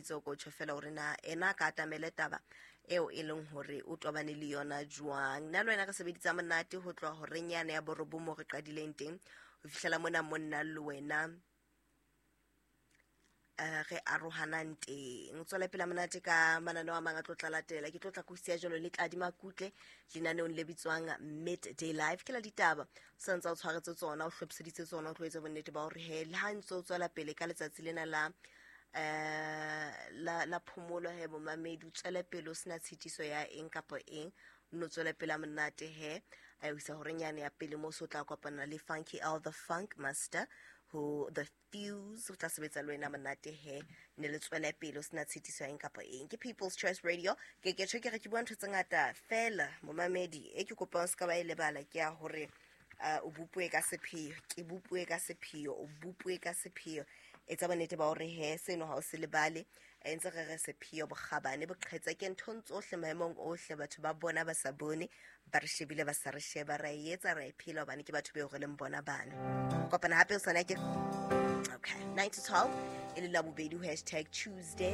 letseditse o ko tjho fela hore na ena a ka atamele taba eo e leng hore o tobane le yona jwang. Nna le wena re sebeditsa monate ho tloha horeng yane ya borobong mo re qadileng teng ho fihlela mona monna le wena re arohanang teng. Tswela pele monate ka mananeo a mang a tlo tla latela. Ke tlo tla kusia jalo le Tladi Makutle lenaneong le bitswang Midday Live. Ke la ditaba sa ntse o tshwaretse tsona, o hlophiseditse tsona, o tlo etsa bonnete ba hore he le ha ntse o tswela pele ka letsatsi lena la la phomolo he momamedi, o tswele pele o sena tshitiso ya eng kapa eng, o no tswele pele monate he a isa horeng yane ya pele mo so tla kopana le Funky L the Funk Master ho the Fuse, o tla sebetsa le wena monate he ne le tswele pele o sena tshitiso ya eng kapa eng. Ke People's Choice Radio. Ke ke tjho ke re ke bua ntho tse ngata fela momamedi, e ke kopang se ka ba e lebala ke ya hore o bopue ka sepheo, ke bopue ka sepheo, o bopue ka sepheo. Etsa bonnete ba hore he seno ha o se lebale, e ntse re re sepheo bokgabane boqhetseke nthong tsohle maemong ohle, batho ba bona ba sa bone, ba re shebile ba sa re sheba, ra e etsa ra e phela hobane ke batho beo re leng bona bana. Kopana hape o sana ke okay 9 to 12 e le la bobedi ho hashtag Tuesday.